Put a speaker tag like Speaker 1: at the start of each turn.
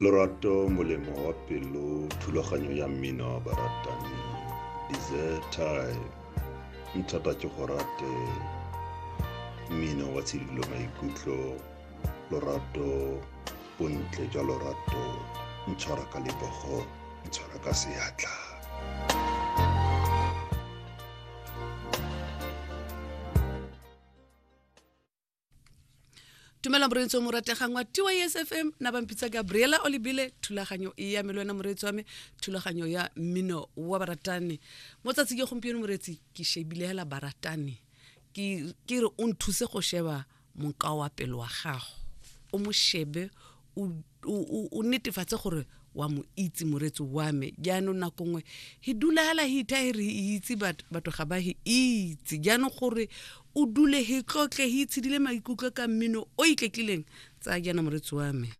Speaker 1: Lorato molemo wa pelo thulaganyo ya mmino wa baratani dessert time nthata ke go rate mmino wa tshidilo maikutlo lorato bontle jwa lorato ntshwara ka lebogo ntshwara ka seatla.
Speaker 2: Tumela moreetsi o mo rategang wa TYSFM na bampitsa Gabriela o lebile thulaganyo e ya me le wena moreetsi wa me thulaganyo ya mmino wa baratani mo tsatsi ke gompieno moreetsi ke shebile hela baratani ke ke re o nthuse go sheba monkao wa pelo wa gago o mo shebe o netefatse gore wa mo itse moreetsi wa me. Jaanong nako nngwe he dula hela he itha he re itse batho ga ba he itse. Jaanong gore o dule he tlotle he itshedile maikutlo ka mmino o itletlileng, tsaya jaana moreetsi wa me.